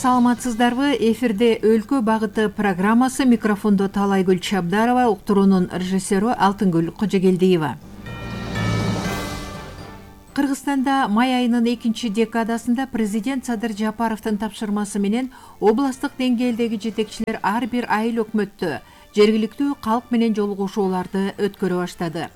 саламатсыздарбы? Эфирде өлкө багыты программасы. Микрофондо Талайгүл Чабдарова, уктуруунун режиссеру Алтынгүл Кожогелдиева. Кыргызстанда май айынын 2-декадасында президент Садыр Жапаровдун тапшырмасы менен областтык деңгээлдеги жетекчилер ар бир айыл өкмөттө жергиликтүү калк менен жолугушууларды өткөрө баштады.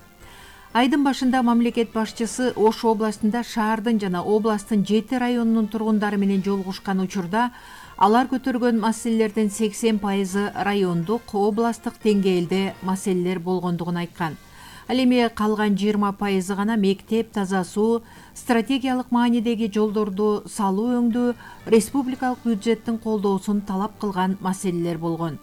Айдын башында мамлекет башчысы Ош областында шаардын жана областтын 7 районунун тургундары менен жолугушкан учурда алар көтөргөн маселелердин 80% райондук, областтык деңгээлде маселелер болгондугун айткан. Ал эми калган 20% гана мектеп, таза суу, стратегиялык маанидеги жолдорду салуу өңдүү, республикалык бюджеттин колдоосун талап кылган маселелер болгон.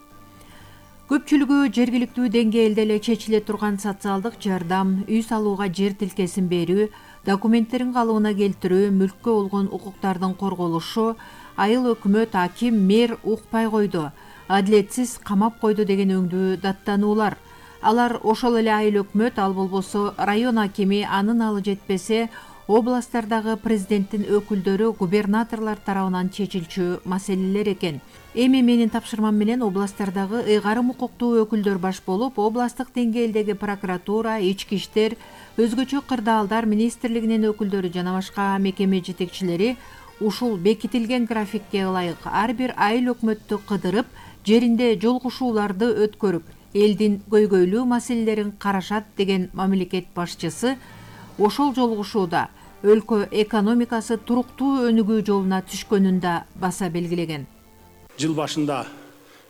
Көпчүлүгү жергиликтүү деңгээлде эле чечиле турган социалдык жардам, үй салууга жер тилкесин берүү, документтерин калыбына келтирүү, мүлккө болгон укуктардын корголушу, айыл өкмөт, аким, мэр укпай койду, адилетсиз камап койду деген өңдүү даттануулар. Алар ошол эле айыл өкмөт, ал болбосо район акими, анын алы жетпесе областтардагы президенттин өкүлдөрү, губернаторлор тарабынан чечилчү маселелер экен. Эми менин тапшырмам менен областтардагы ыйгарым укуктуу өкүлдөр баш болуп, областтык деңгээлдеги прокуратура, ички иштер, өзгөчө кырдаалдар министрлигинин өкүлдөрү жана башка мекеме жетекчилери ушул бекитилген графикке ылайык ар бир айыл өкмөттү кыдырып, жеринде жолугушууларды өткөрүп, элдин көйгөйлүү маселелерин карашат деген мамлекет башчысы ошол жолугушууда өлкө экономикасы туруктуу өнүгүү жолуна түшкөнүн да баса белгилеген. Жыл башында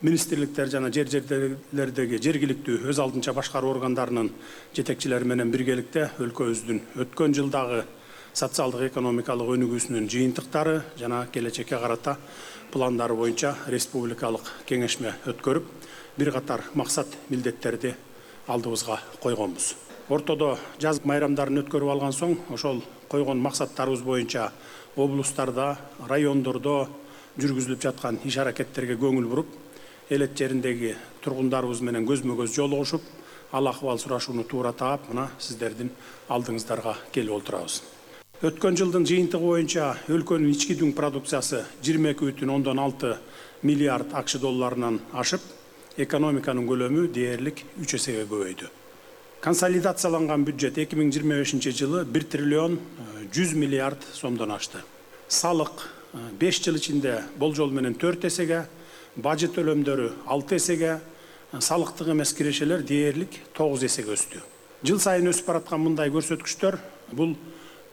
министрликтер жана жерлердеги жергиликтүү өз алдынча башкаруу органдарынын жетекчилери менен биргеликте өлкөбүздүн өткөн жылдагы социалдык экономикалык өнүгүүсүнүн жыйынтыктары жана келечекке карата пландары боюнча республикалык кеңешме өткөрүп, бир катар максат милдеттерди алдыбызга койгонбуз. Ортодо жаз майрамдарын өткөрүп алган соң, ошол койгон максаттарыбыз боюнча облустарда, райондордо жүргүзүлүп жаткан иш аракеттерге көңүл буруп, элет жериндеги тургундарыбыз менен көзмө-көз жолугушуп, ал акыбал сурашууну туура таап, мына сиздердин алдыңыздарга келип отурабыз. Өткөн жылдын жыйынтыгы боюнча өлкөнүн ички дүң продукциясы 22,6 миллиард АКШ долларынан ашып, экономиканын көлөмү дээрлик 3 эсеге көбөйдү. Консолидацияланган бюджет 2025 жылы 1 триллион 100 миллиард сомдон ашты. Салык 5 жыл ичинде болжол менен 4 эсеге, бажет төлөмдөрү 6 эсеге, салыктык эмес кирешелер дээрлик 9 эсеге өстү. Жыл сайын өсүп бараткан мындай көрсөткүчтөр бул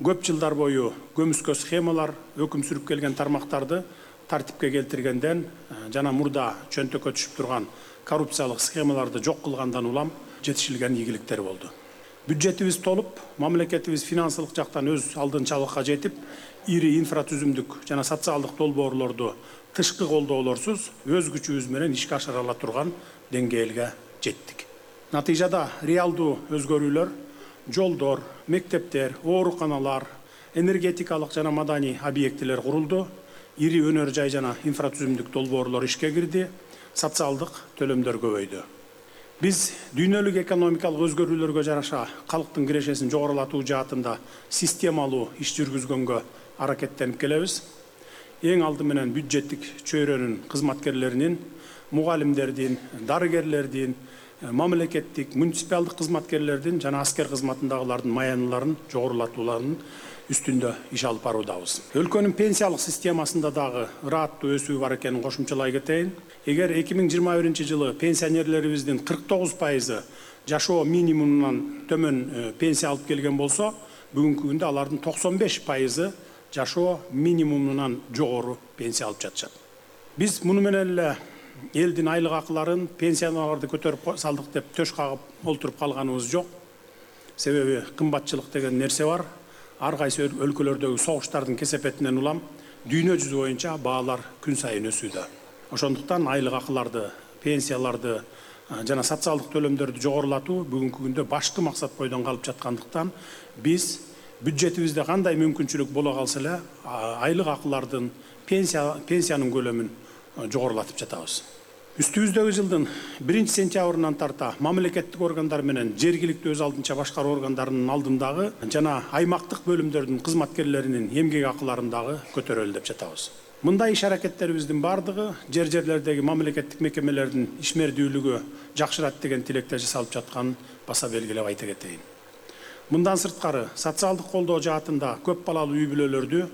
көп жылдар бою көмүскө схемалар өкүм сүрүп келген тармактарды тартипке келтиргенден жана мурда чөнтөккө түшүп турган коррупциялык схемаларды жок кылгандан улам жетишилген ийгиликтер болду. Бюджетибиз толуп, мамлекетибиз финансылык жактан өз алдынчалыкка жетип, ири инфратүзүмдүк жана социалдык долбоорлорду тышкы колдоолорсуз өз күчүбүз менен ишке ашыра ала турган деңгээлге жеттик. Натыйжада реалдуу өзгөрүүлөр жолдор, мектептер, ооруканалар, энергетикалык жана маданий объектилер курулду, ири өнөр жай жана инфратүзүмдүк долбоорлор ишке кирди, социалдык төлөмдөр көбөйдү. Биз дүйнөлүк экономикалык өзгөрүүлөргө жараша калктын кирешесин жогорулатуу жаатында системалуу иш жүргүзгөнгө аракеттенип келебиз. Эң алды менен бюджеттик чөйрөнүн кызматкерлеринин, мугалимдердин, дарыгерлердин, мамлекеттик, муниципалдык кызматкерлердин жана аскер кызматындагылардын маяныларын жогорулатууларынын үстүндө иш алып баруудабыз. Өлкөнүн пенсиялык системасында дагы ырааттуу өсүү бар экенин кошумчалай кетейин. Эгер 2021 жылы пенсионерлерибиздин 49% жашоо минимумунан төмөн пенсия алып келген болсо, бүгүнкү күндө алардын 95% жашоо минимумунан жогору пенсия алып жатышат. Биз муну менен эле элдин айлык акыларын, пенсияларды көтөрүп салдык деп төш кагып олтуруп калганыбыз жок. Себеби кымбатчылык деген нерсе бар. Ар кайсы өлкөлөрдөгү согуштардын кесепетинен улам дүйнө жүзү боюнча баалар күн сайын өсүүдө. Ошондуктан айлык акыларды, пенсияларды жана социалдык төлөмдөрдү жогорулатуу бүгүнкү күндө башкы максат бойдон калып жаткандыктан биз бюджетибизде кандай мүмкүнчүлүк боло калса эле айлык акылардын, пенсиянын көлөмүн жогорулатып жатабыз. Үстүбүздөгү жылдын 1-сентябрынан тарта мамлекеттик органдар менен жергиликтүү өз алдынча башкаруу органдарынын алдындагы жана аймактык бөлүмдөрдүн кызматкерлеринин эмгек акыларын дагы көтөрөлү деп жатабыз. Мындай иш аракеттерибиздин бардыгы жерлердеги мамлекеттик мекемелердин ишмердүүлүгү жакшырат деген тилекте жасалып жатканын баса белгилеп айта кетейин. Мындан сырткары социалдык колдоо жаатында көп балалуу үй бүлөлөрдү,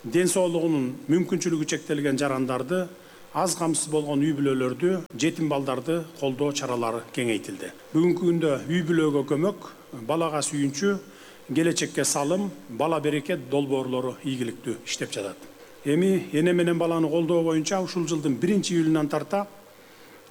ден соолугунун мүмкүнчүлүгү чектелген жарандарды, аз камсыз болгон үй бүлөлөрдү, жетим балдарды колдоо чаралары кеңейтилди. Бүгүнкү күндө үй бүлөгө көмөк, балага сүйүнчү, келечекке салым, бала берекет долбоорлору ийгиликтүү иштеп жатат. Эми эне менен баланы колдоо боюнча ушул жылдын 1-июлунан тарта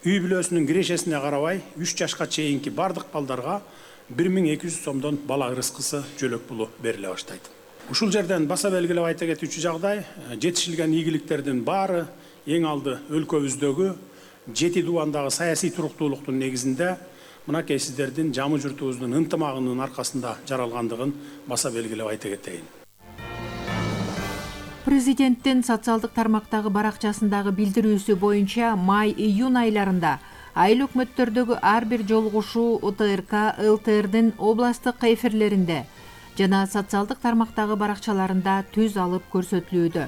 үй бүлөсүнүн кирешесине карабай 3 жашка чейинки бардык балдарга 1200 сомдон бала ырыскысы жөлөк пулу бериле баштайт. Ушул жерден баса белгилеп айта кетүүчү жагдай, жетишилген ийгиликтердин баары эң алды өлкөбүздөгү жети дубандагы саясий туруктуулуктун негизинде мынакей сиздердин жамы журтубуздун ынтымагынын аркасында жаралгандыгын баса белгилеп айта кетейин. Президенттин социалдык тармактагы баракчасындагы билдирүүсү боюнча май-июнь айларында айыл өкмөттөрдөгү ар бир жолугушуу УТРК, ЛТРдин областтык эфирлеринде жана социалдык тармактагы баракчаларында түз алып көрсөтүлүүдө.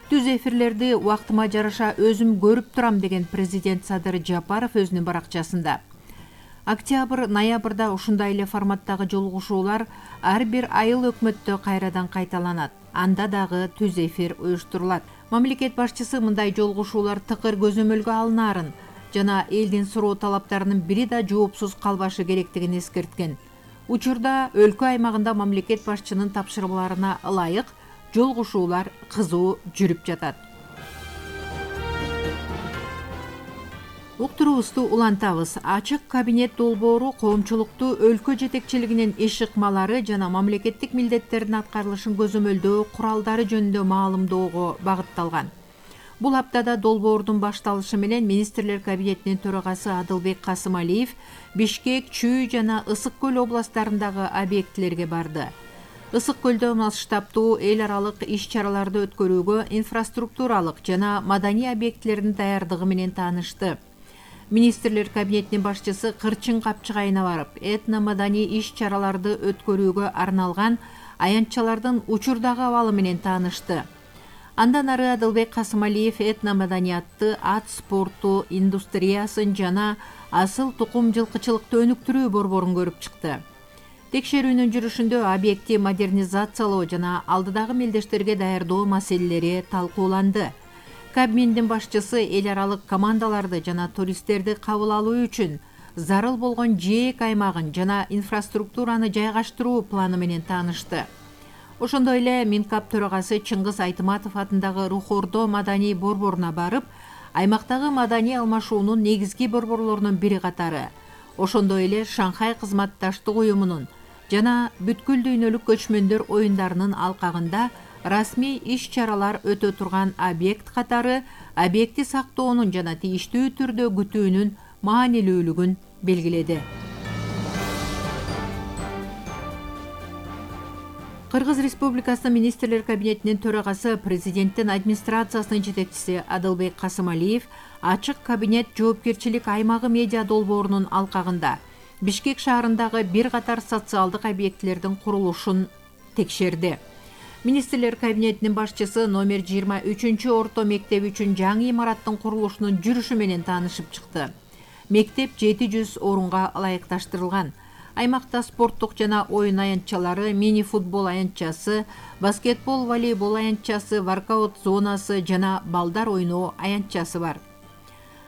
Түз эфирлерди убактыма жараша өзүм көрүп турам деген президент Садыр Жапаров өзүнүн баракчасында. Октябрь-ноябрда ушундай эле форматтагы жолугушуулар ар бир айыл өкмөттө кайрадан кайталанат. Анда дагы түз эфир уюштурулат. Мамлекет башчысы мындай жолугушуулар тыкыр көзөмөлгө алынаарын жана элдин суроо талаптарынын бири да жоопсуз калбашы керектигин эскерткен. Учурда өлкө аймагында мамлекет башчынын тапшырмаларына ылайык жолугушуулар кызуу жүрүп жатат. Уктуруубузду улантабыз. Ачык кабинет долбоору коомчулукту өлкө жетекчилигинин иш ыкмалары жана мамлекеттик милдеттердин аткарылышын көзөмөлдөө куралдары жөнүндө маалымдоого багытталган. Бул аптада долбоордун башталышы менен министрлер кабинетинин төрагасы Адылбек Касымалиев Бишкек, Чүй жана Ысык көл областарындагы объектилерге барды. Ысык көлдө масштабдуу эл аралык иш-чараларды өткөрүүгө инфраструктуралык жана маданий объектилердин даярдыгы менен таанышты. Министрлер кабинетинин башчысы Кырчын Капчыгайына барып, этно-маданий иш-чараларды өткөрүүгө арналган аянтчалардын учурдагы абалы менен таанышты. Андан ары Адылбек Касымалиев этно-маданиятты, ат спорту индустриясын жана асыл тукум жылкычылыкты өнүктүрүү борборун көрүп чыкты. Текшерүүнүн жүрүшүндө объекти модернизациялоо жана алдыдагы мелдештерге даярдоо маселелери талкууланды. Кабминдин башчысы эл аралык командаларды жана туристтерди кабыл алуу үчүн зарыл болгон жээк аймагын жана инфраструктураны жайгаштыруу планы менен таанышты. Ошондой эле Минкап төрагасы Чыңгыз Айтыматов атындагы Рухордо маданий борборуна барып, аймактагы маданий алмашуунун негизги борборлорунун бири катары, ошондой эле Шанхай кызматташтык уюмунун жана бүткүл дүйнөлүк көчмөндөр оюндарынын алкагында расмий иш-чаралар өтө турган объект катары объекти сактоонун жана тийиштүү түрдө күтүүнүн маанилүүлүгүн белгиледи. Кыргыз Республикасынын министрлер кабинетинин төрагасы президенттин администрациясынын жетекчиси Адылбек Касымалиев ачык кабинет жоопкерчилик аймагы медиа долбоорунун алкагында Бишкек шаарындагы бир катар социалдык объектилердин курулушун текшерди. Министрлер кабинетинин башчысы номер 23 орто мектеп үчүн жаңы имараттын курулушунун жүрүшү менен таанышып чыкты. Мектеп 700 орунга ылайыкташтырылган. Аймакта спорттук жана оюн аянтчалары, мини-футбол аянтчасы, баскетбол, волейбол аянтчасы, воркаут зонасы жана балдар ойноо аянтчасы бар.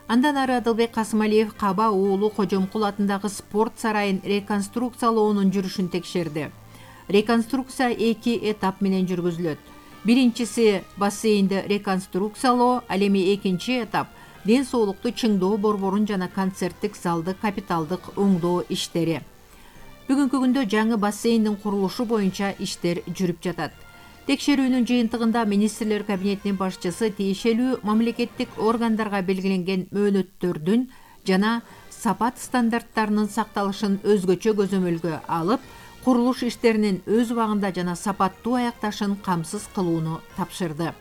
Андан ары Адылбек Касымалиев Каба уулу Кожомкул атындагы спорт сарайын реконструкциялоонун жүрүшүн текшерди. Реконструкция 2 этап менен жүргүзүлөт. Биринчиси бассейнди реконструкциялоо, ал эми экинчи этап ден соолукту чыңдоо борборун жана концерттик залды капиталдык оңдоо иштери. Бүгүнкү күндө жаңы бассейндин курулушу боюнча иштер жүрүп жатат. Текшерүүнүн жыйынтыгында министрлер кабинетинин башчысы тиешелүү мамлекеттик органдарга белгиленген мөөнөттөрдүн жана сапат стандарттарынын сакталышын өзгөчө көзөмөлгө алып, курулуш иштеринин өз убагында жана сапаттуу аякташын камсыз кылууну тапшырды.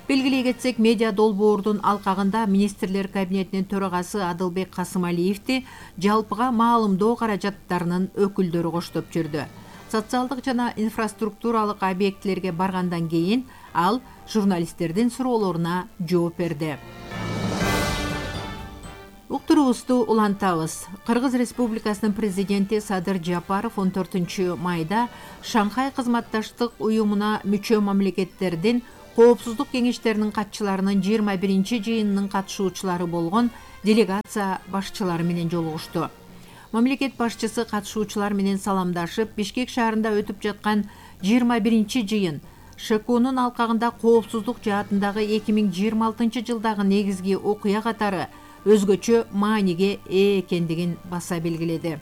Белгилей кетсек, медиа долбоордун алкагында министрлер кабинетинин төрагасы Адылбек Касымалиевди жалпыга маалымдоо каражаттарынын өкүлдөрү коштоп жүрдү. Социалдык жана инфраструктуралык объектилерге баргандан кийин ал журналисттердин суроолоруна жооп берди. Уктуруубузду улантабыз. Кыргыз Республикасынын президенти Садыр Жапаров 14-майда Шанхай кызматташтык уюмуна мүчө мамлекеттердин коопсуздук кеңештеринин катчыларынын 21-жыйынынын катышуучулары болгон делегация башчылары менен жолугушту. Мамлекет башчысы катышуучулар менен саламдашып, Бишкек шаарында өтүп жаткан 21-жыйын ШКУнун алкагында коопсуздук жаатындагы 2026 жылдагы негизги окуя катары өзгөчө мааниге ээ экендигин баса белгиледи.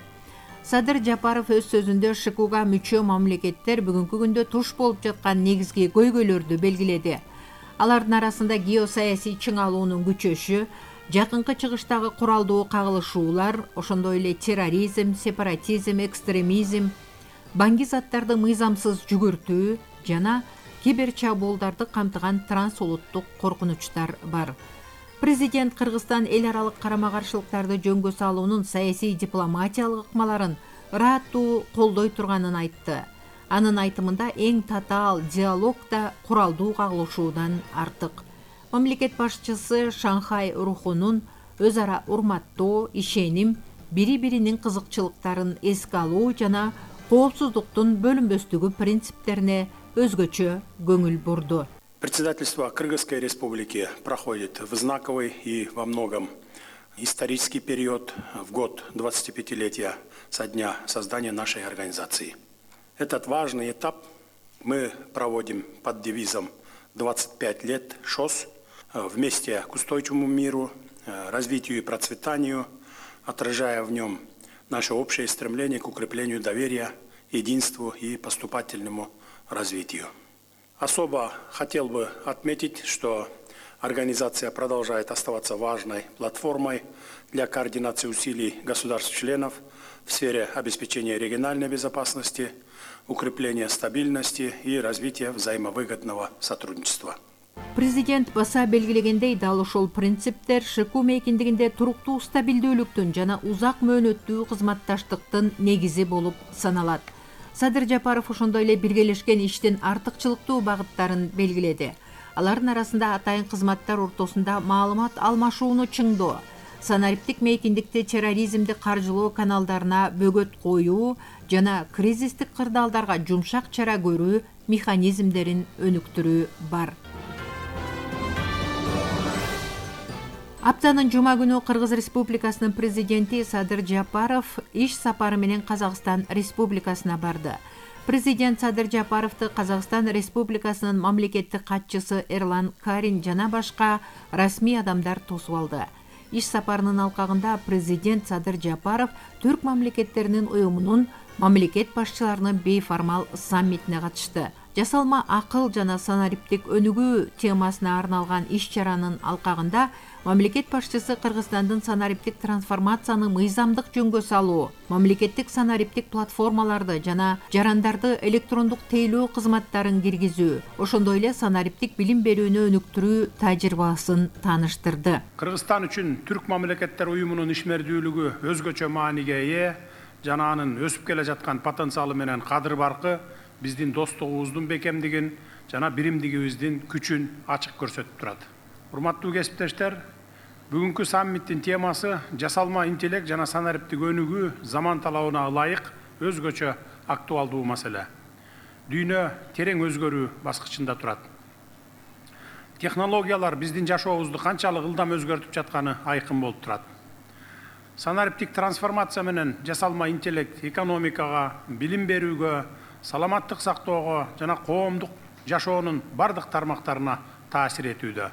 Садыр Жапаров өз сөзүндө ШКУга мүчө мамлекеттер бүгүнкү күндө туш болуп жаткан негизги көйгөйлөрдү белгиледи. Алардын арасында геосаясий чыңалуунун күчөшү, жакынкы чыгыштагы куралдуу кагылышуулар, ошондой эле терроризм, сепаратизм, экстремизм, баңги заттарды мыйзамсыз жүгүртүү жана киберчабуулдарды камтыган трансулуттук коркунучтар бар. Президент Кыргызстан эл аралык карама-каршылыктарды жөнгө салуунун саясий дипломатиялык ыкмаларын ыраттуу колдой турганын айтты. Анын айтымында эң татаал диалог да куралдуу кагылышуудан артык. Мамлекет башчысы Шанхай рухунун өз ара урматтоо, ишеним, бири-биринин кызыкчылыктарын эске алуу жана коопсуздуктун бөлүнбөстүгү принциптерине өзгөчө көңүл бурду. Председательство Кыргызской Республики проходит в знаковый и во многом исторический период в год 25-летия со дня создания нашей организации. Этот важный этап мы проводим под девизом «25 лет ШОС» вместе к устойчивому миру, развитию и процветанию, отражая в нем наше общее стремление к укреплению доверия, единству и поступательному развитию. Особо хотел бы отметить, что организация продолжает оставаться важной платформой для координации усилий государств-членов в сфере обеспечения региональной безопасности, укрепления стабильности и развития взаимовыгодного сотрудничества. Президент баса белгилегендей, дал ошол принциптер ШКУ мейкиндигинде туруктуу стабилдүүлүктүн жана узак мөөнөттүү кызматташтыктын негизи болуп саналат. Садыр Жапаров ошондой эле биргелешкен иштин артыкчылыктуу багыттарын белгиледи. Алардын арасында атайын кызматтар ортосунда маалымат алмашууну чыңдоо, санариптик мейкиндикти терроризмди каржылоо каналдарына бөгөт коюу жана кризистик кырдаалдарга жумшак чара көрүү механизмдерин өнүктүрүү бар. Аптанын жума күнү Кыргыз Республикасынын президенти Садыр Жапаров иш сапары менен Казакстан Республикасына барды. Президент Садыр Жапаровду Казакстан Республикасынын мамлекеттик катчысы Эрлан Карин жана башка расмий адамдар тосуп алды. Иш сапарынын алкагында президент Садыр Жапаров түрк мамлекеттеринин уюмунун мамлекет башчыларынын бейформал саммитине катышты. Жасалма акыл жана санариптик өнүгүү темасына арналган иш-чаранын алкагында мамлекет башчысы Кыргызстандын санариптик трансформацияны мыйзамдык жөнгө салуу, мамлекеттик санариптик платформаларды жана жарандарды электрондук тейлөө кызматтарын киргизүү, ошондой эле санариптик билим берүүнү өнүктүрүү тажрыйбасын тааныштырды. Кыргызстан үчүн түрк мамлекеттер уюмунун ишмердүүлүгү өзгөчө мааниге ээ жана анын өсүп келе жаткан потенциалы менен кадыр баркы биздин достугубуздун бекемдигин жана биримдигибиздин күчүн ачык көрсөтүп турат. Урматтуу кесиптештер, бүгүнкү саммиттин темасы жасалма интеллект жана санариптик өнүгүү заман талабына ылайык өзгөчө актуалдуу маселе. Дүйнө терең өзгөрүү баскычында турат. Технологиялар биздин жашообузду канчалык ылдам өзгөртүп жатканы айкын болуп турат. Санариптик трансформация менен жасалма интеллект экономикага, билим берүүгө, саламаттык сактоого жана коомдук жашоонун бардык тармактарына таасир этүүдө.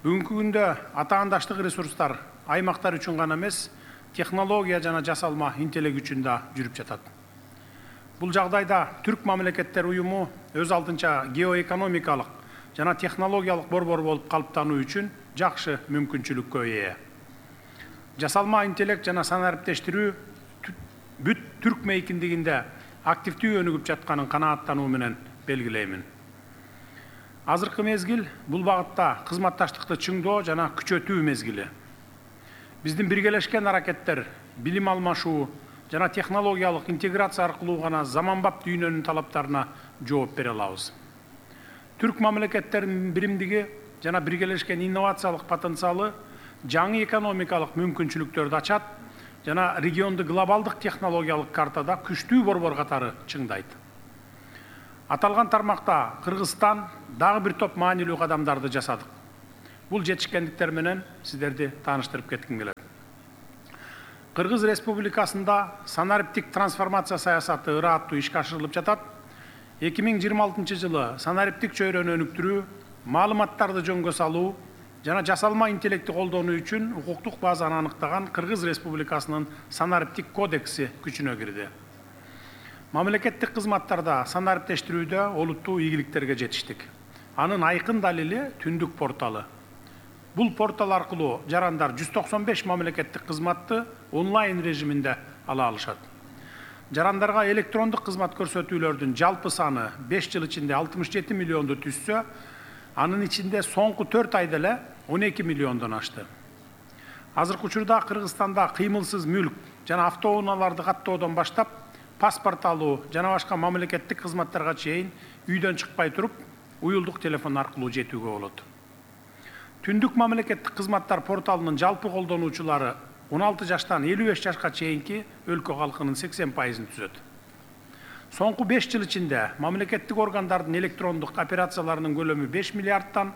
Бүгүнкү күндө атаандаштык ресурстар аймактар үчүн гана эмес, технология жана жасалма интеллект үчүн да жүрүп жатат. Бул жагдайда түрк мамлекеттер уюму өз алдынча геоэкономикалык жана технологиялык борбор болуп калыптануу үчүн жакшы мүмкүнчүлүккө ээ. Жасалма интеллект жана санариптештирүү бүт түрк мейкиндигинде активдүү өнүгүп жатканын канааттануу менен белгилеймин. Азыркы мезгил бул багытта кызматташтыкты чыңдоо жана күчөтүү мезгили. Биздин биргелешкен аракеттер, билим алмашуу жана технологиялык интеграция аркылуу гана заманбап дүйнөнүн талаптарына жооп бере алабыз. Түрк мамлекеттеринин биримдиги жана биргелешкен инновациялык потенциалы жаңы экономикалык мүмкүнчүлүктөрдү ачат жана регионду глобалдык технологиялык картада күчтүү борбор катары чыңдайт. Аталган тармакта Кыргызстан дагы бир топ маанилүү кадамдарды жасадык. Бул жетишкендиктер менен сиздерди тааныштырып кетким келет. Кыргыз Республикасында санариптик трансформация саясаты ырааттуу ишке ашырылып жатат. 2026 жылы санариптик чөйрөнү өнүктүрүү, маалыматтарды жөнгө салуу жана жасалма интеллекти колдонуу үчүн укуктук базаны аныктаган Кыргыз Республикасынын санариптик кодекси күчүнө кирди. Мамлекеттик кызматтарда санариптештирүүдө олуттуу ийгиликтерге жетиштик. Анын айкын далили Түндүк порталы. Бул портал аркылуу жарандар 195 мамлекеттик кызматты онлайн режиминде ала алышат. Жарандарга электрондук кызмат көрсөтүүлөрдүн жалпы саны 5 жыл ичинде 67 миллионду түзсө, анын ичинде соңку 4 айда эле 12 миллиондон ашты. Азыркы учурда Кыргызстанда кыймылсыз мүлк жана автоунааларды каттоодон баштап паспорт алуу жана башка мамлекеттик кызматтарга чейин үйдөн чыкпай туруп, уюлдук телефон аркылуу жетүүгө болот. Түндүк мамлекеттик кызматтар порталынын жалпы колдонуучулары 16 жаштан 55 жашка чейинки өлкө калкынын 80%-ын түзөт. Соңку 5 жыл ичинде мамлекеттик органдардын электрондук операцияларынын көлөмү 5 миллиардтан,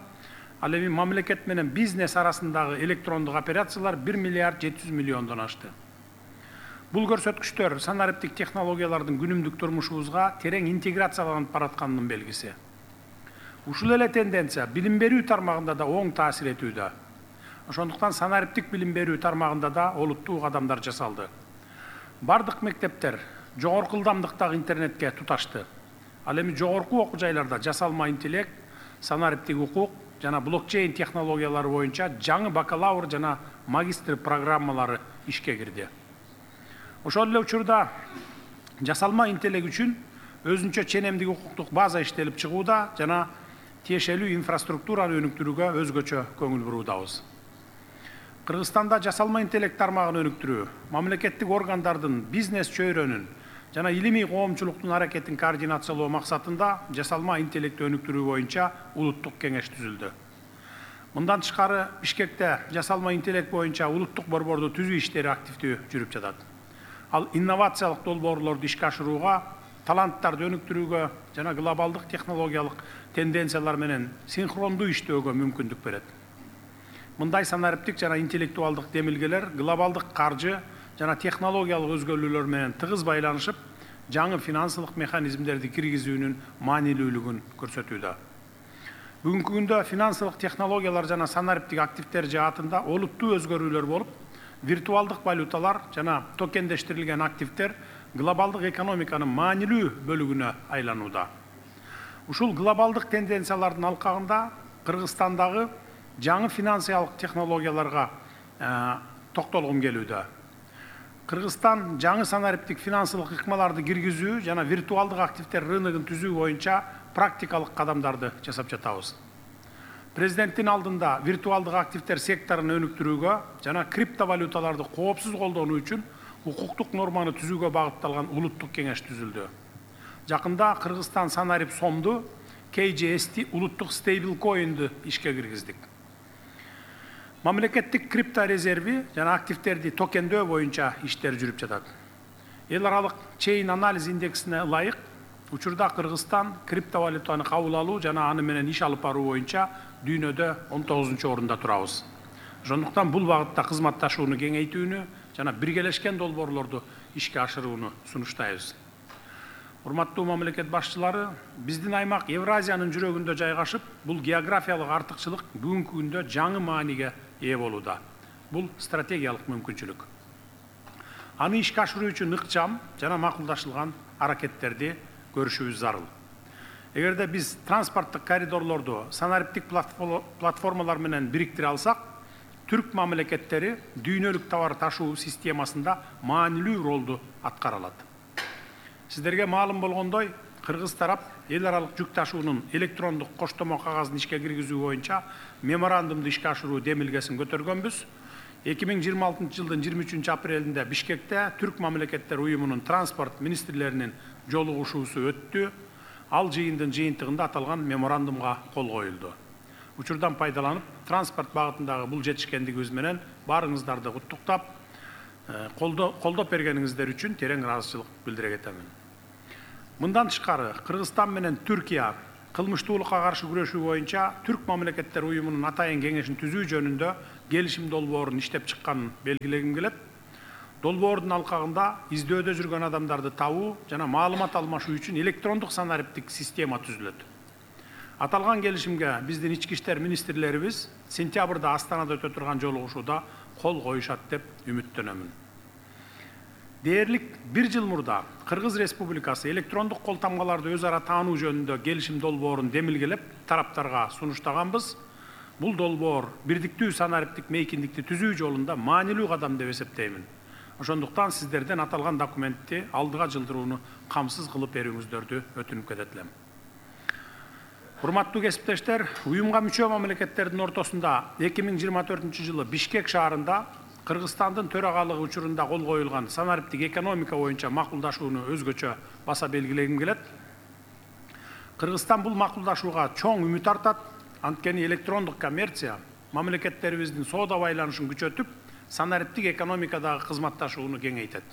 ал эми мамлекет менен бизнес арасындагы электрондук операциялар 1 миллиард 700 миллиондон ашты. Бул көрсөткүчтөр санариптик технологиялардын күнүмдүк турмушубузга терең интеграцияланып баратканынын белгиси. Ушул эле тенденция билим берүү тармагында да оң таасир этүүдө. Ошондуктан санариптик билим берүү тармагында да олуттуу кадамдар жасалды. Бардык мектептер жогорку ылдамдыктагы интернетке туташты. Ал эми жогорку окуу жайларда жасалма интеллект, санариптик укук жана блокчейн технологиялары боюнча жаңы бакалавр жана магистр программалары ишке кирди. Ошол эле учурда жасалма интеллект үчүн өзүнчө ченемдик укуктук база иштелип чыгууда жана тиешелүү инфраструктураны өнүктүрүүгө өзгөчө көңүл буруудабыз. Кыргызстанда жасалма интеллект тармагын өнүктүрүү, мамлекеттик органдардын бизнес чөйрөнүн жана илимий коомчулуктун аракетин координациялоо максатында жасалма интеллектти өнүктүрүү боюнча улуттук кеңеш түзүлдү. Мындан тышкары Бишкекте жасалма интеллект боюнча улуттук борборду түзүү иштери активдүү жүрүп жатат. Ал инновациялык долбоорлорду ишке ашырууга, таланттарды өнүктүрүүгө жана глобалдык технологиялык тенденциялар менен синхрондуу иштөөгө мүмкүндүк берет. Мындай санариптик жана интеллектуалдык демилгелер глобалдык каржы жана технологиялык өзгөрүүлөр менен тыгыз байланышып, жаңы финансылык механизмдерди киргизүүнүн маанилүүлүгүн көрсөтүүдө. Бүгүнкү күндө финансылык технологиялар жана санариптик активдер жаатында олуттуу өзгөрүүлөр болуп, виртуалдык валюталар жана токендештирилген активдер глобалдык экономиканын маанилүү бөлүгүнө айланууда. Ушул глобалдык тенденциялардын алкагында Кыргызстандагы жаңы финансиялык технологияларга токтолгум келүүдө. Кыргызстан жаңы санариптик финансылык ыкмаларды киргизүү жана виртуалдык активдер рыногун түзүү боюнча практикалык кадамдарды жасап жатабыз. Президенттин алдында виртуалдык активдер секторун өнүктүрүүгө жана криптовалюталарды коопсуз колдонуу үчүн укуктук норманы түзүүгө багытталган улуттук кеңеш түзүлдү. Жакында Кыргызстан санарип сомду KJST улуттук стейблкоинди ишке киргиздик. Мамлекеттик крипто резерви жана активдерди токендөө боюнча иштер жүрүп жатат. Эл аралык чейин анализ индексине ылайык, учурда Кыргызстан криптовалютаны кабыл алуу жана аны менен иш алып баруу боюнча дүйнөдө 19-орунда турабыз. Ошондуктан бул багытта кызматташууну кеңейтүүнү жана биргелешкен долбоорлорду ишке ашырууну сунуштайбыз. Урматтуу мамлекет башчылары, биздин аймак Евразиянын жүрөгүндө жайгашып, бул географиялык артыкчылык бүгүнкү күндө жаңы мааниге ээ болууда. Бул стратегиялык мүмкүнчүлүк. Аны ишке ашыруу үчүн ыкчам жана макулдашылган аракеттерди көрүшүбүз зарыл. Эгерде биз транспорттук коридорлорду санариптик платформалар менен бириктире алсак, түрк мамлекеттери дүйнөлүк товар ташуу системасында маанилүү ролду аткара алат. Сиздерге маалым болгондой, кыргыз тарап эл аралык жүк ташуунун электрондук коштомо кагазын ишке киргизүү боюнча меморандумду ишке ашыруу демилгесин көтөргөнбүз. 2026 жылдын 23 апрелинде Бишкекте Түрк мамлекеттер уюмунун транспорт министрлеринин жолугушуусу өттү. Ал жыйындын жыйынтыгында аталган меморандумга кол коюлду. Учурдан пайдаланып, транспорт багытындагы бул жетишкендигибиз менен баарыңыздарды куттуктап, колдоп бергениңиздер үчүн терең ыраазычылык билдире кетемин. Мындан тышкары, Кыргызстан менен Түркия кылмыштуулукка каршы күрөшүү боюнча Түрк мамлекеттер уюмунун атайын кеңешин түзүү жөнүндө келишим долбоорун иштеп чыкканын белгилегим келет. Долбоордун алкагында издөөдө жүргөн адамдарды табуу жана маалымат алмашуу үчүн электрондук санариптик система түзүлөт. Аталган келишимге биздин ички иштер министрлерибиз сентябрда Астанада өтө турган жолугушууда кол коюшат деп үмүттөнөмүн. Дээрлик 1 жыл мурда Кыргыз Республикасы электрондук кол тамгаларды өз ара таануу жөнүндө келишим долбоорун демилгелеп, тараптарга сунуштаганбыз. Бул долбоор бирдиктүү санариптик мейкиндикти түзүү жолунда маанилүү кадам деп эсептеймин. Ошондуктан сиздерден аталган документти алдыга жылдырууну камсыз кылып берүүңүздөрдү өтүнүп кетет элем. Урматтуу кесиптештер, уюмга мүчө мамлекеттердин ортосунда 2024 жылы Бишкек шаарында Кыргызстандын төрагалыгы учурунда кол коюлган санариптик экономика боюнча макулдашууну өзгөчө баса белгилегим келет. Кыргызстан бул макулдашууга чоң үмүт артат. Анткени электрондук коммерция мамлекеттерибиздин соода байланышын күчөтүп, санариптик экономикадагы кызматташууну кеңейтет.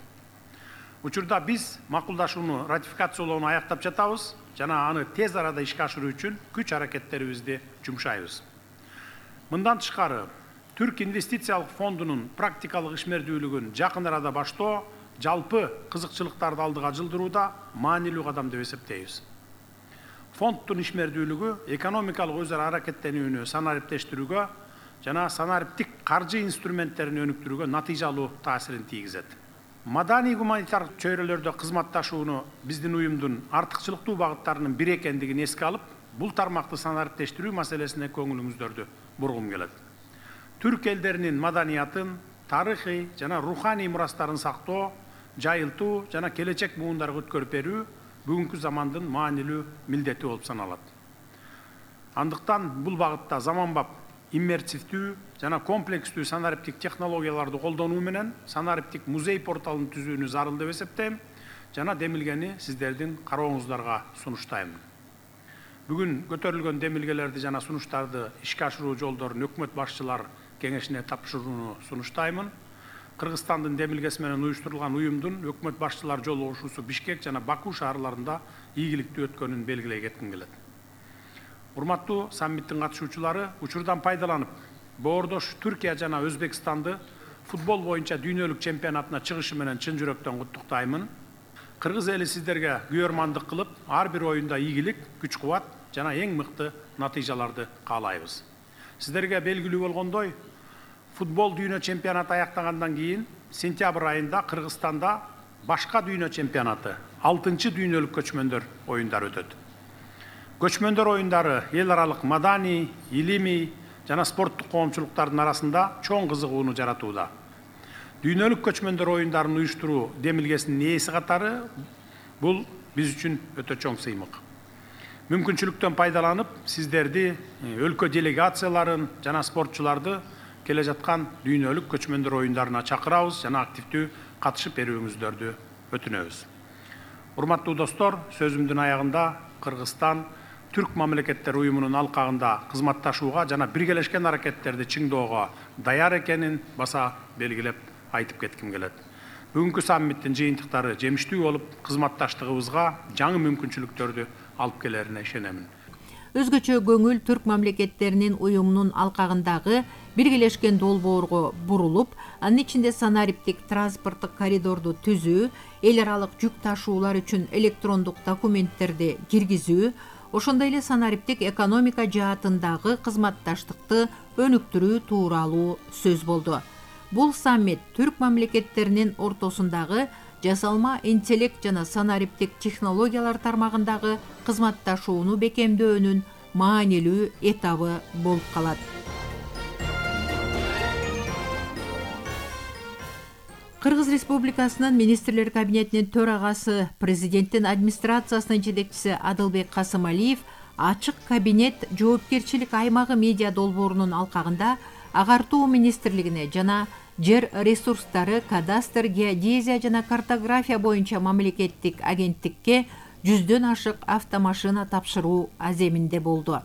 Учурда биз макулдашууну ратификациялоону аяктап жатабыз жана аны тез арада ишке ашыруу үчүн күч аракеттерибизди жумшайбыз. Мындан тышкары, Түрк инвестициялык фондунун практикалык ишмердүүлүгүн жакын арада баштоо жалпы кызыкчылыктарды алдыга жылдырууда маанилүү кадам деп эсептейбиз. Фонддун ишмердүүлүгү экономикалык өз ара аракеттенүүнү санариптештирүүгө жана санариптик каржы инструменттерин өнүктүрүүгө натыйжалуу таасирин тийгизет. Маданий гуманитардык чөйрөлөрдө кызматташууну биздин уюмдун артыкчылыктуу багыттарынын бири экендигин эске алып, бул тармакты санариптештирүү маселесине көңүлүңүздөрдү бургум келет. Түрк элдеринин маданиятын, тарыхый жана руханий мурастарын сактоо, жайылтуу жана келечек буундарга өткөрүп берүү бүгүнкү замандын маанилүү милдети болуп саналат. Андыктан бул багытта заманбап иммерсивдүү жана комплекстүү санариптик технологияларды колдонуу менен санариптик музей порталын түзүүнү зарыл деп эсептейм жана демилгени сиздердин карооңуздарга сунуштайм. Бүгүн көтөрүлгөн демилгелерди жана сунуштарды ишке ашыруу жолдорун өкмөт башчылар кеңешине тапшырууну сунуштаймын. Кыргызстандын демилгеси менен уюштурулган уюмдун өкмөт башчылар жолугушуусу Бишкек жана Баку шаарларында ийгиликтүү өткөнүн белгилей кетким келет. Урматтуу саммиттин катышуучулары, учурдан пайдаланып, боордош Түркия жана Өзбекстанды футбол боюнча дүйнөлүк чемпионатына чыгышы менен чын жүрөктөн куттуктаймын. Кыргыз эли сиздерге күйөрмандык кылып, ар бир оюнда ийгилик, күч-кубат жана эң мыкты натыйжаларды каалайбыз. Сиздерге белгилүү болгондой, футбол дүйнө чемпионаты аяктагандан кийин сентябрь айында Кыргызстанда башка дүйнө чемпионаты, 6-чы дүйнөлүк көчмөндөр оюндары өтөт. Көчмөндөр оюндары эл аралык маданий, илимий жана спорттук коомчулуктардын арасында чоң кызыгууну жаратууда. Дүйнөлүк көчмөндөр оюндарын уюштуруу демилгесинин ээси катары бул биз үчүн өтө чоң сыймык. Мүмкүнчүлүктөн пайдаланып, сиздерди, өлкө делегацияларын жана спортчуларды келе жаткан дүйнөлүк көчмөндөр оюндарына чакырабыз жана активдүү катышып берүүңүздөрдү өтүнөбүз. Урматтуу достор, сөзүмдүн аягында Кыргызстан Түрк мамлекеттер уюмунун алкагында кызматташууга жана биргелешкен аракеттерди чыңдоого даяр экенин баса белгилеп айтып кетким келет. Бүгүнкү саммиттин жыйынтыктары жемиштүү болуп, кызматташтыгыбызга жаңы мүмкүнчүлүктөрдү алып келерине ишенемин. Өзгөчө көңүл Түрк мамлекеттеринин уюмунун алкагындагы биргелешкен долбоорго бурулуп, анын ичинде санариптик транспорттук коридорду түзүү, эл аралык жүк ташуулар үчүн электрондук документтерди киргизүү, ошондой эле санариптик экономика жаатындагы кызматташтыкты өнүктүрүү тууралуу сөз болду. Бул саммит Түрк мамлекеттеринин ортосундагы жасалма интеллект жана санариптик технологиялар тармагындагы кызматташууну бекемдөөнүн маанилүү этабы болуп калат. Кыргыз Республикасынын министрлер кабинетинин төрагасы, президенттин администрациясынын жетекчиси Адылбек Касымалиев ачык кабинет жоопкерчилик аймагы медиа долбоорунун алкагында агартуу министрлигине жана жер ресурстары, кадастр, геодезия жана картография боюнча мамлекеттик агенттикке 100дөн ашык автомашина тапшыруу аземинде болду.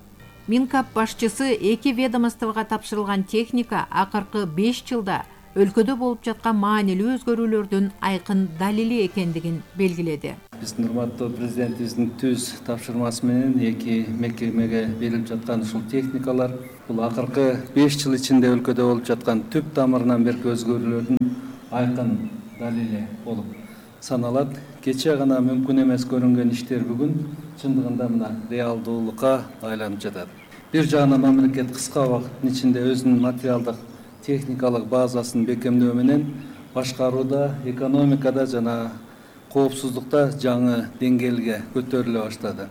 Минкап башчысы эки ведомствого тапшырылган техника акыркы 5 жылда өлкөдө болуп жаткан маанилүү өзгөрүүлөрдүн айкын далили экендигин белгиледи. Биздин урматтуу президентибиздин түз тапшырмасы менен эки мекемеге берилип жаткан ушул техникалар бул акыркы 5 жыл ичинде өлкөдө болуп жаткан түп тамырынан берки өзгөрүүлөрдүн айкын далили болуп саналат. Кече гана мүмкүн эмес көрүнгөн иштер бүгүн чындыгында мына реалдуулукка айланып жатат. Бир жагынан мамлекет кыска убакыттын ичинде өзүнүн материалдык техникалык базасын бекемдөө менен башкарууда, экономикада жана коопсуздукта жаңы деңгээлге көтөрүлө баштады.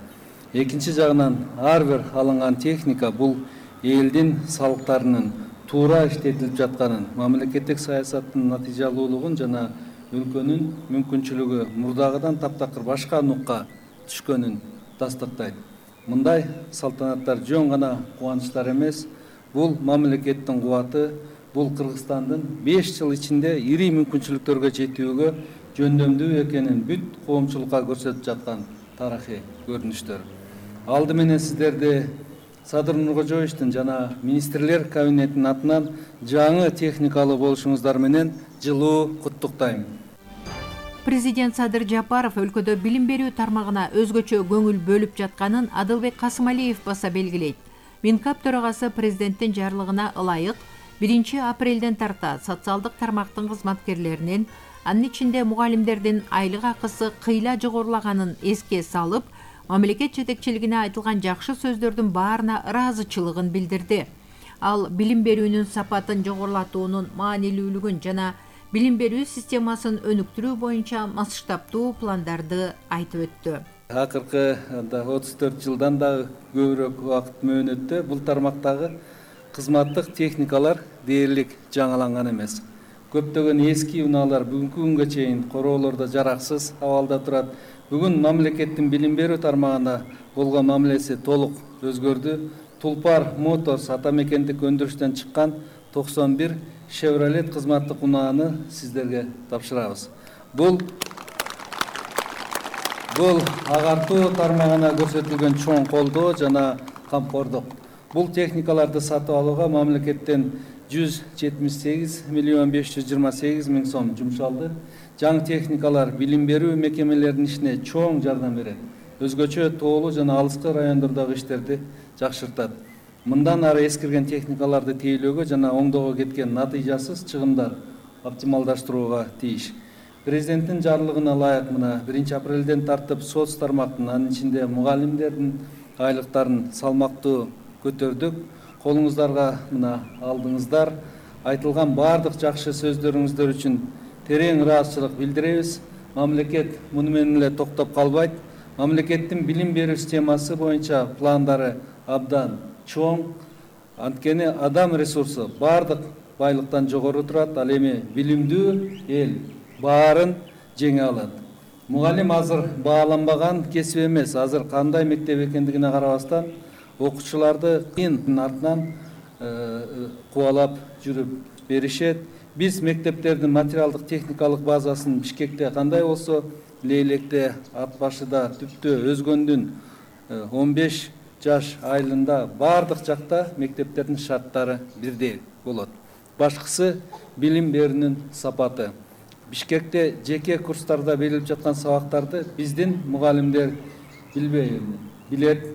Экинчи жагынан ар бир алынган техника бул элдин салыктарынын туура иштетилип жатканын, мамлекеттик саясаттын натыйжалуулугун жана өлкөнүн мүмкүнчүлүгү мурдагыдан таптакыр башка нукка түшкөнүн тастыктайт. Мындай салтанаттар жөн гана кубанычтар эмес, бул мамлекеттин кубаты, бул Кыргызстандын 5 жыл ичинде ири мүмкүнчүлүктөргө жетүүгө жөндөмдүү экенин бүт коомчулукка көрсөтүп жаткан тарыхый көрүнүштөр. Алды менен сиздерди Садыр Нуркожоевичтин жана министрлер кабинетинин атынан жаңы техникалуу болушуңуздар менен жылуу куттуктайм. Президент Садыр Жапаров өлкөдө билим берүү тармагына өзгөчө көңүл бөлүп жатканын Адылбек Касымалиев баса белгилейт. Минкап төрагасы президенттин жарлыгына ылайык 1 апрелден тарта социалдык тармактын кызматкерлеринин, анын ичинде мугалимдердин айлык акысы кыйла жогорулаганын эске салып, мамлекет жетекчилигине айтылган жакшы сөздөрдүн баарына ыраазычылыгын билдирди. Ал билим берүүнүн сапатын жогорулатуунун маанилүүлүгүн жана билим берүү системасын өнүктүрүү боюнча масштабтуу пландарды айтып өттү. Акыркы 34 жылдан да көбүрөөк убакыт мөөнөттө бул тармактагы кызматтык техникалар дээрлик жаңаланган эмес. Көптөгөн эски унаалар бүгүнкү күнгө чейин короолордо жараксыз абалда турат. Бүгүн мамлекеттин билим берүү тармагына болгон мамилеси толук өзгөрдү. Тулпар Моторс атамекендик өндүрүштөн чыккан 91 Chevrolet кызматтык унааны сиздерге тапшырабыз. Бул агартуу тармагына көрсөтүлгөн чоң колдоо жана камкордук. Бул техникаларды сатып алууга мамлекеттен 178 миллион 528 миң сом жумшалды. Жаңы техникалар билим берүү мекемелеринин ишине чоң жардам берет. Өзгөчө тоолуу жана алыскы райондордогу иштерди жакшыртат. Мындан ары эскирген техникаларды тейлөөгө жана оңдоого кеткен натыйжасыз чыгымдар оптималдаштырууга тийиш. Президенттин жарлыгына ылайык мына 1 апрелден тартып соц тармактын, анын ичинде мугалимдердин айлыктарын салмактуу көтөрдүк. Колуңуздарга мына алдыңыздар. Айтылган бардык жакшы сөздөрүңүздөр үчүн терең ыраазычылык билдиребиз. Мамлекет муну менен эле токтоп калбайт. Мамлекеттин билим берүү системасы боюнча пландары абдан чоң. Анткени адам ресурсу бардык байлыктан жогору турат. Ал эми билимдүү эл баарын жеңе алат. Мугалим азыр бааланбаган кесип эмес. Азыр кандай мектеп экендигине карабастан окуучуларды кыйын артынан кубалап жүрүп беришет. Биз мектептердин материалдык техникалык базасын Бишкекте кандай болсо, Лейлекте, Ат башыда, Түптө, Өзгөндүн 15 жаш айылында бардык жакта мектептердин шарттары бирдей болот. Башкысы билим берүүнүн сапаты. Бишкекте жеке курстарда берилип жаткан сабактарды биздин мугалимдер билбей билет,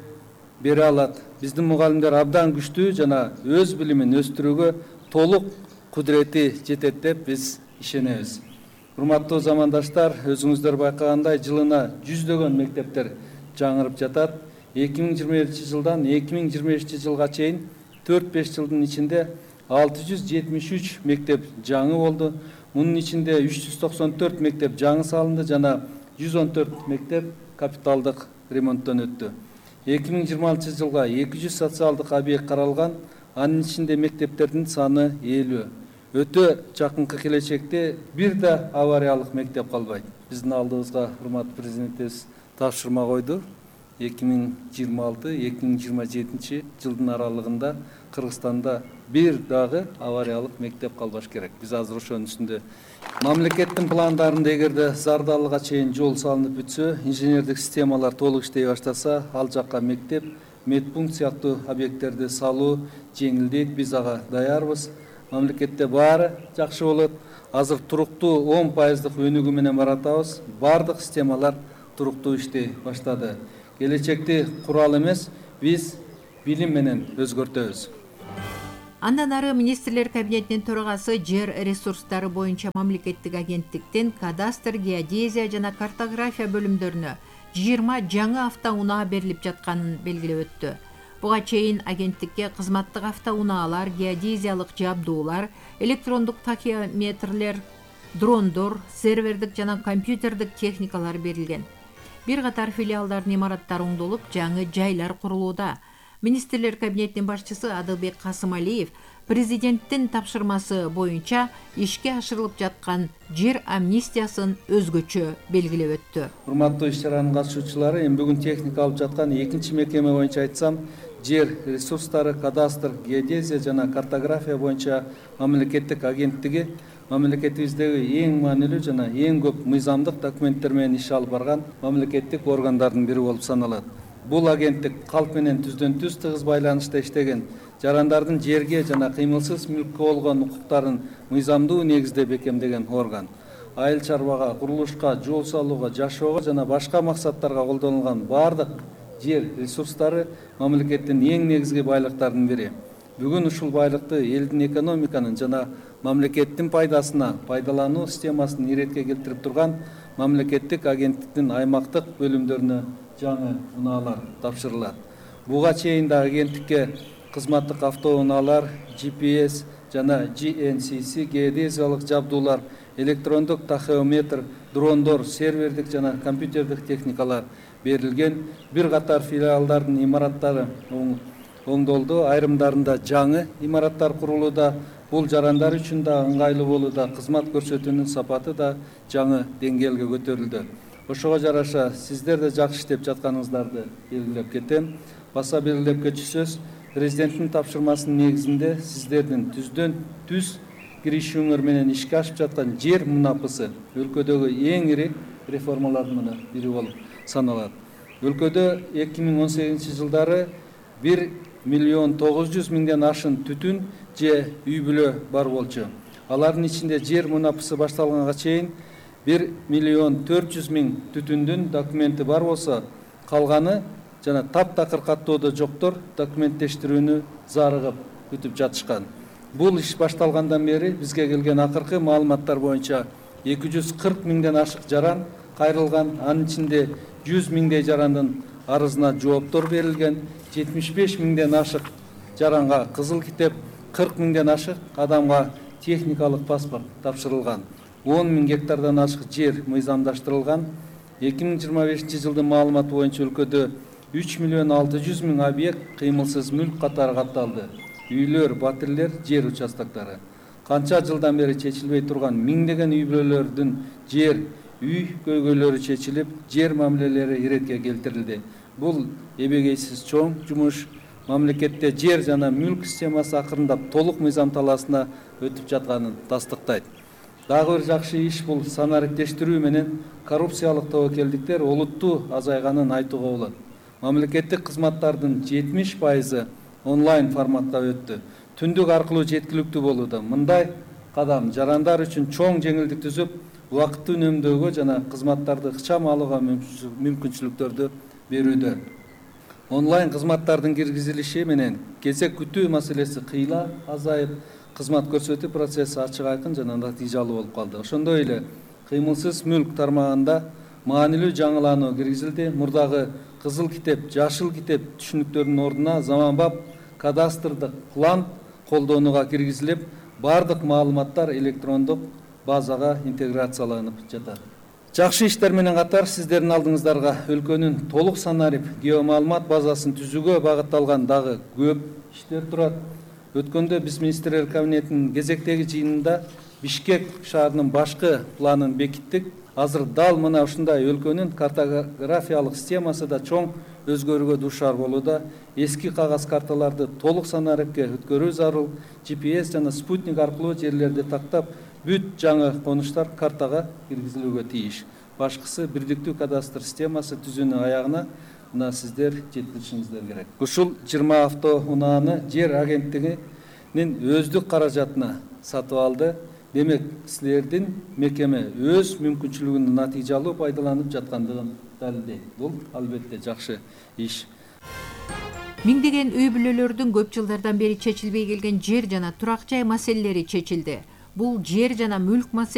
бере алат. Биздин мугалимдер абдан күчтүү жана өз билимин өстүрүүгө толук кудурети жетет деп биз ишенебиз. Урматтуу замандаштар, өзүңүздөр байкагандай жылына 100дөгөн мектептер жаңырып жатат. 2021 жылдан 2025 жылга чейин 4-5 жылдын ичинде 673 мектеп жаңы болду. Мунун ичинде 394 мектеп жаңы салынды жана 114 мектеп капиталдык ремонттон өттү. 2026 жылга 200 социалдык объект каралган, анын ичинде мектептердин саны 50. өтө жакынкы келечекте бир да авариялык мектеп калбайт. Биздин алдыбызга урматтуу президентибиз тапшырма койду. 2026-2027 жылдын аралыгында Кыргызстанда бир дагы авариялык мектеп калбаш керек. Биз азыр ошонун үстүндө мамлекеттин пландарында эгерде Зардалыга чейин жол салынып бүтсө, инженердик системалар толук иштей баштаса, ал жакка мектеп, медпункт сыяктуу объекттерди салуу жеңилдейт. Биз ага даярбыз. Мамлекетте баары жакшы болот. Азыр туруктуу 10% өнүгүү менен баратабыз. Бардык системалар туруктуу иштей баштады. Келечекти курал эмес, биз билим менен өзгөртөбүз. Андан ары министрлер кабинетинин төрагасы жер ресурстары боюнча мамлекеттик агенттиктен кадастр, геодезия жана картография бөлүмдөрүнө 20 жаңы автоунаа берилип жатканын белгилеп өттү. Буга чейин агенттикке кызматтык автоунаалар, геодезиялык жабдуулар, электрондук такиометрлер, дрондор, сервердик жана компьютердик техникалар берилген. Бир катар филиалдардын имараттары оңдолуп, жаңы жайлар курулууда. Министрлер кабинетинин башчысы Адылбек Касымалиев президенттин тапшырмасы боюнча ишке ашырылып жаткан жер амнистиясын өзгөчө белгилеп өттү. Урматтуу иш-чаранын катышуучулары, эми бүгүн техника алып жаткан экинчи мекеме боюнча айтсам, жер ресурстары, кадастр, геодезия жана картография боюнча мамлекеттик агенттиги мамлекетибиздеги эң маанилүү жана эң көп мыйзамдык документтер менен иш алып барган мамлекеттик органдардын бири болуп саналат. Бул агенттик калк менен түздөн-түз тыгыз байланышта иштеген жарандардын жерге жана кыймылсыз мүлккө болгон укуктарын мыйзамдуу негизде бекемдеген орган. Айыл чарбага, курулушка, жол салууга, жашоого жана башка максаттарга колдонулган бардык жер ресурстары мамлекеттин эң негизги байлыктардын бири. Бүгүн ушул байлыкты элдин экономиканын жана мамлекеттин пайдасына пайдалануу системасын иретке келтирип турган мамлекеттик агенттиктин аймактык бөлүмдөрүнө жаңы унаалар тапшырылат. Буга чейин да агенттикке кызматтык автоунаалар, GPS жана GNCC геодезиялык жабдуулар, электрондук тахеометр, дрондор, сервердик жана компьютердик техникалар берилген. Бир катар филиалдардын имараттары оңдолду, айрымдарында жаңы имараттар курулууда. Бул жарандар үчүн да ыңгайлуу болууда, кызмат көрсөтүүнүн сапаты да жаңы деңгээлге көтөрүлдү. Ошого жараша сиздер да жакшы иштеп жатканыңыздарды белгилеп кетем. Баса белгилеп кетүүсүз, президенттин тапшырмасынын негизинде сиздердин түздөн түз киришүүңөр менен ишке ашып жаткан жер мунапысы өлкөдөгү эң ири реформалардын бири болуп саналат. Өлкөдө 2018 жылдары 1.900.000 ашын түтүн же үй бүлө бар болчу. Алардын ичинде жер мунапысы башталганга чейин 1.400.000 түтүндүн документи бар болсо, калганы жана таптакыр каттоодо жоктор документтештирүүнү зарыгып күтүп жатышкан. Бул иш башталгандан бери бизге келген акыркы маалыматтар боюнча 240.000ден ашык жаран кайрылган, анын ичинде 100.000дей жарандын арызына жооптор берилген, 75.000ден ашык жаранга кызыл китеп, 40.000ден ашык адамга техникалык паспорт тапшырылган. 10.000 гектардан ашык жер мыйзамдаштырылган. 2025 жылдын маалыматы боюнча өлкөдө 3.600.000 объект кыймылсыз мүлк катары катталды. Үйлөр, батирлер, жер участоктары. Канча жылдан бери чечилбей турган миңдеген үй бүлөлөрдүн жер, үй көйгөйлөрү чечилип, жер мамилелери иретке келтирилди. Бул эбегейсиз чоң жумуш. Мамлекетте жер жана мүлк системасы акырындап толук мыйзам талаасына өтүп жатканын тастыктайт. Дагы бир жакшы иш бул санариптештирүү менен коррупциялык тобокелдиктер олуттуу азайганын айтууга болот. Мамлекеттик кызматтардын 70% онлайн форматта өттү. Түндүк аркылуу жеткиликтүү болууда. Мындай кадам жарандар үчүн чоң жеңилдик түзүп, убакытты үнөмдөөгө жана кызматтарды ыкчам алууга мүмкүнчүлүктөрдү берүүдө. Онлайн кызматтардын киргизилиши менен кезек күтүү маселеси кыйла азайып, кызмат көрсөтүү процесси ачык айкын жана натыйжалуу болуп калды. Ошондой эле кыймылсыз мүлк тармагында маанилүү жаңылануу киргизилди. Мурдагы кызыл китеп, жашыл китеп түшүнүктөрүнүн ордуна заманбап кадастрдык план колдонууга киргизилип, бардык маалыматтар электрондук базага интеграцияланып жатат. Жакшы иштер менен катар сиздердин алдыңыздарга өлкөнүн толук санарип геомаалымат базасын түзүүгө багытталган дагы көп иштер турат. өткөндө биз министрлер кабинетинин кезектеги жыйынында Бишкек шаарынын башкы планын бекиттик. Азыр дал мына ушундай өлкөнүн картографиялык системасы да чоң өзгөрүүгө дуушар болууда. Эски кагаз карталарды толук санарыкка өткөрүү зарыл. GPS жана спутник аркылуу жерлерди тактап, бүт жаңы конуштар картага киргизилүүгө тийиш. Башкысы бирдиктүү кадастр системасы түзүүнүн аягына мына сиздер жеткиришиңиздер керек. Ушул 20 автоунааны жер агенттигинин өздүк каражатына сатып алды. Демек, силердин мекеме өз мүмкүнчүлүгүнүн натыйжалуу пайдаланып жаткандыгын далилдейт. Бул албетте жакшы иш. Миңдеген үй бүлөлөрдүн көп жылдардан бери чечилбей келген жер жана турак жай маселелери чечилди. Бул жер жана мүлк маселелери